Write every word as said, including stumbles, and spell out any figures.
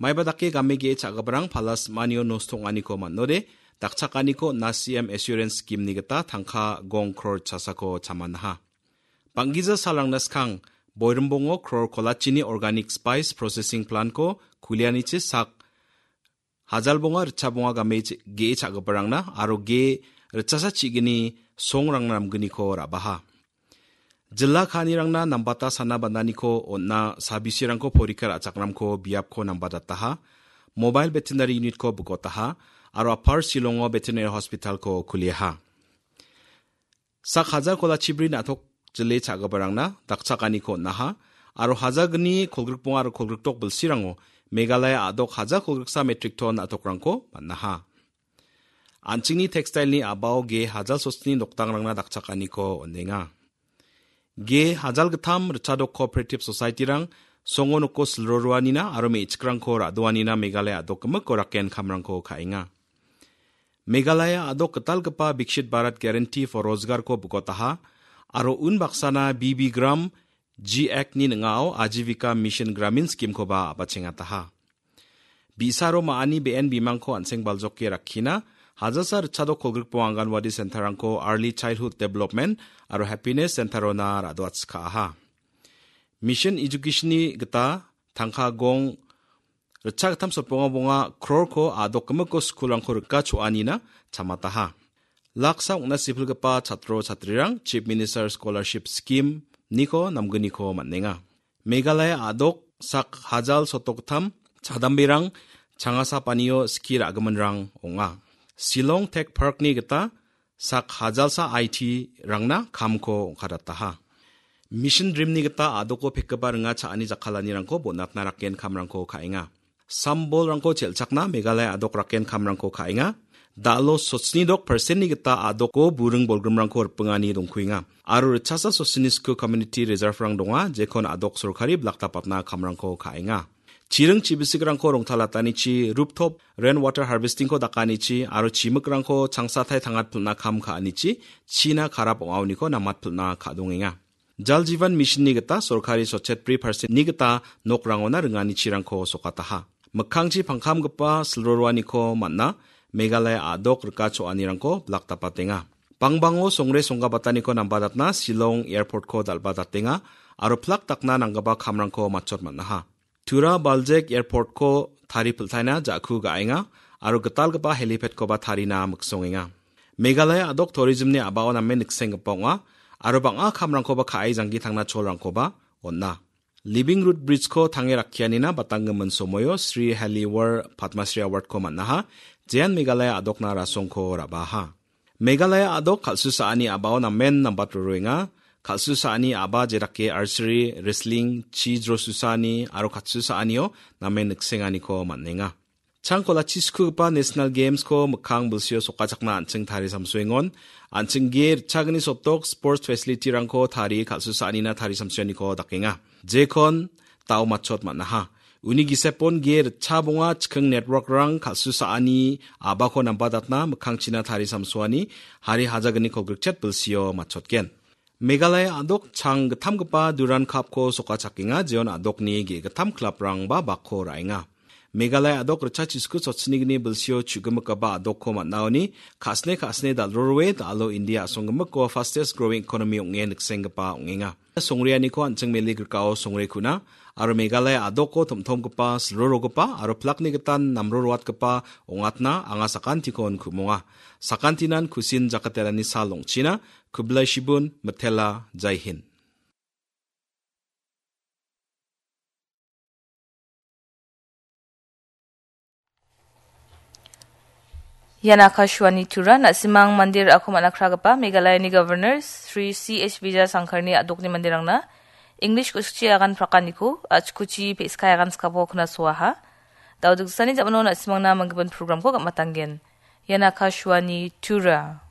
Maiba dake game ge·e cha·giparang palas manio nosto ong·aniko man·ode, dakchakaniko na C M Assurance Scheme-ni gita tangka gong kror chasako chamanaha. Bang·gija salrangna skang, Boirimbongo kror kolachini Organic Spice Processing Plant-ko kulianichi sak hajal bonga ritcha bonga game ge·e cha·giparangna aro ge·e ritchasa chigini songrangna namgniko ra·baha. Jilla ka·anirangna nambata sana bandaniko on·na sabisirangko porikar a·chakramko biapko nambadataha, mobile veterinary unit-ko bikotaha, aro Upper Shillongo veterinary hospital-ko kuliaha. Sak hajar kolachibri na·tok jile cha·giparangna dakchakaniko on·aha, aro hajalgni kolgrikbonga aro kolgrikdok bilsirango Meghalaya a·dok hajar kolgriksa metric ton na·tokrangko man·aha. An·chingni textile-ni a·bao ge hajalsosni nokdangrangna dakchakaniko on·enga. Ge hajalgittam ritchadok cooperative society-rang songo noko silro roanina aro me·chikrangko ra·doanina Meghalaya a·dok gimiko raken kamrangko ka·enga. Meghalaya a·dok gitalgipa Viksit Bharat Guarantee for Rozgar-ko bikotaha aro unbaksana B B Gram G Act-ni ning·ao Ajivika Mission Gramin Scheme-koba a·bachengataha. Bi·saro ma·ani be·en bimangko an·seng baljoke rakkina, hajalsa ritchadok kolgrikbonga Anganwadi Center-rangko Early Childhood Development aro Happiness Center-ona ra·doatchka·aha. Mission Education-ni gita tangka gong ritchagittam sotbonga bonga krorko a·dok gimiko skulrangko rika cho·anina chamataha. Laksa ong·na sipilgipa chatro chatrirang Chief Minister Scholarship Scheme-niko namgniko man·enga. Meghalaya a·dok sak hajal sotokgittam chadamberang changasa panio skie ra·giminrang ong·a. Shillong Tech Park-ni gita sak hajalsa I T-rangna kamko ong·kadataha. Mission Dream-ni gita a·doko pekgipa ringa cha·ani jakkalanirangko bonatna raken kamrangko ka·enga. Sambolrangko chelchakna Meghalaya a·dok raken kamrangko ka·enga. Da·alo sochni dok percent-ni gita a·doko buring bolgrimrangko ripingani dongkuenga. Aro ritchasa sochni sku community reserve-rang donga, jekon a·dok sorkari blaktapatna kamrangko ka·enga. Chiring chibisikrangko rongtalatanichi, rooftop rain water harvesting-ko dakanichi, aro chimikrangko changsatai tangatpilna kam ka·anichi, china karap ong·aoniko namatpilna ka·dongenga. Jal Jeevan Mission-ni gita sorkari sotchet bri percent-ni gita nokrangona ringanichirangko sokataha. Mikkangchi pangkamgipa silroroaniko man·na Meghalaya a·dok rika cho·anirangko blakdapatenga. Bangbango songre songgabataniko nambadatna Shillong Airport-ko dal·badatenga aro plak dakna nanggipa kamrangko matchot man·aha. Tura Baljek Airport-ko tari piltaina ja·ku ga·enga aro gitalgipa helipad-koba tarina miksongenga. Meghalaya a·dok tourism-ni a·bao namen niksenggipa ong·a aro bang·a kamrangkoba ka·e janggi tangna cholrangkoba on·a. Living Root Bridge-ko tange rakkianina batanggimin somoio Sri Haliwar Padma Shri Award-ko man·aha, jean Meghalaya a·dokna rasongko ra·baha. Meghalaya a·dok kal·susaani a·bao namen nambat roroenga. Kal·susaani a·ba jedake archery, wrestling, chi jrosusaani aro katsusaanio namen niksenganiko man·enga. Changkolachi skugipa National Games-ko mikkang bilsio sokachakna an·ching tari samsoengon, an·ching ge ritchagni sotok sports facility-rangko tari kal·susaanina tari samsoaniko dakenga. Jekon tao matchot man·aha. Uni gisepon ge ritchabonga chikking network-rang kal·susaani a·bako nambadatna mikkangchina tari samsoani hari hajagni kolgrikchet bilsio matchotgen. Meghalaya a·dok chang gittamgipa Durand Cup-ko sokachakenga, jeon a·dokni ge·gittam club-rangba bakko ra·enga. Meghalaya a·dok ritchachisku sotsinigni bilsio chu·gimikgipa a·dokko man·aoni ka·sne ka·sne dal·roroe da·alo India a·songgimikko fastest growing economy ong·e niksenggipa ong·enga. Songreaniko an·ching meligrikao songre kuna aro Meghalaya a·doko tom·tomgipa, silrorogipa aro plakni gitan namroroatgipa ong·atna anga sakantikon ku·monga. Sakantinan kusin jakatelani sal ong·china, Kublai Shibun, Mitela, Jai Hind. Ian Akashvani Tura, na·simang mande ra·ako man·akragipa Meghalayani Governor Sri C H Vijayashankarni a·dokni manderangna English ku·sikchi agan prakaniko, a·chikuchi pe·skai agan skabo knasoaha. Dao diksani ja·mano na·simangna manggipan programko gam·atanggen. Ian Akashvani Tura.